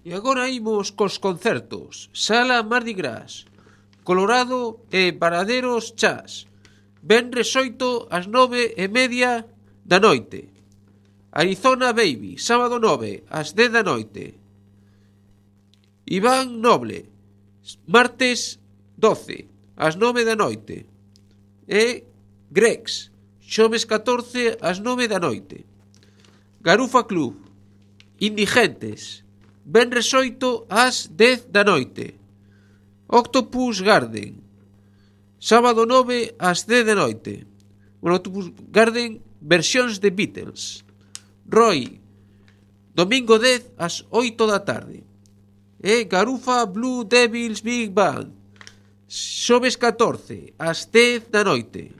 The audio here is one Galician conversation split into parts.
E agora imos cos concertos. Sala Mardi Gras, Colorado e Paraderos Chas, venres 8 ás 9:30 da noite. Arizona Baby, sábado 9 ás 10 da noite. Iván Noble, martes 12 ás 9 da noite. E Grex, xoves 14 ás 9 da noite. Garufa Club, Indigentes, venres 8 ás 10 da noite. Octopus Garden, sábado 9 ás 10 da noite. Octopus Garden, versións de Beatles. Roy, domingo 10 ás 8 da tarde. E Garufa Blue Devils Big Band, xoves 14 ás 10 da noite.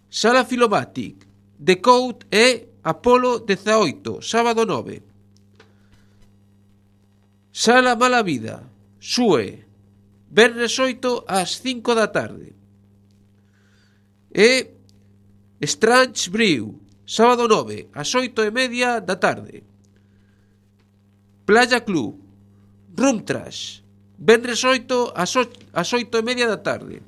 Sala Filomatic, The Code e Apolo 18, sábado 9. Sala Mala Vida, Sue, venres 8 ás 5 da tarde. E Strange Brew, sábado 9 ás 8:30 da tarde. Playa Club, Room Trash, venres 8 ás 8:30 da tarde.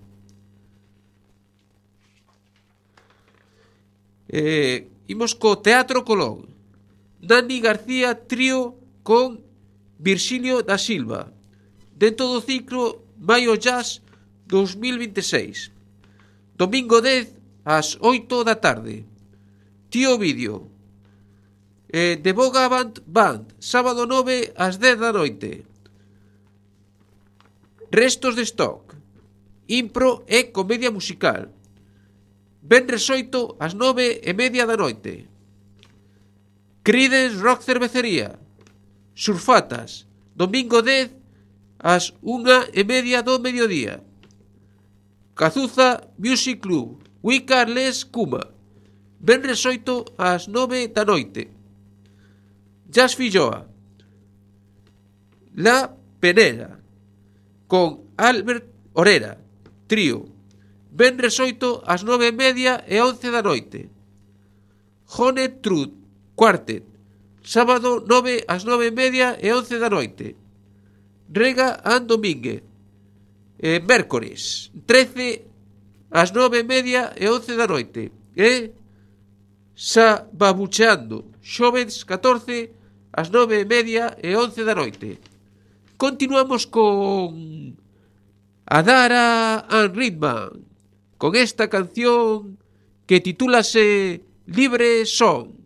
Imos co Teatro Colón, Dani García Trío con Virxilio da Silva, dentro do ciclo Maio Jazz 2026. Domingo 10 ás 8 da tarde. Tío Vídeo, The Bogavant Band, sábado 9 ás 10 da noite. Restos de Stock, impro e comedia musical, venres 8 ás 9:30 da noite. Creedence Rock Cervecería, Surfatas, domingo 10 ás 1:30 do mediodía. Cazuza Music Club, Wicca Les Cuma, venres 8 ás 9 da noite. Jazz Filloa, La Penera, con Albert Orera, trío, venres 8 ás 9:30 e 11 da noite. Honey Truth Quartet, sábado 9 ás 9:30 e 11 da noite. Rega and Domínguez, mércores 13 ás 9:30 e 11 da noite. E Sababucheando, xoves 14 ás 9:30 e 11 da noite. Continuamos con Adara and Ritman, con esta canción que titúlase Libre Son.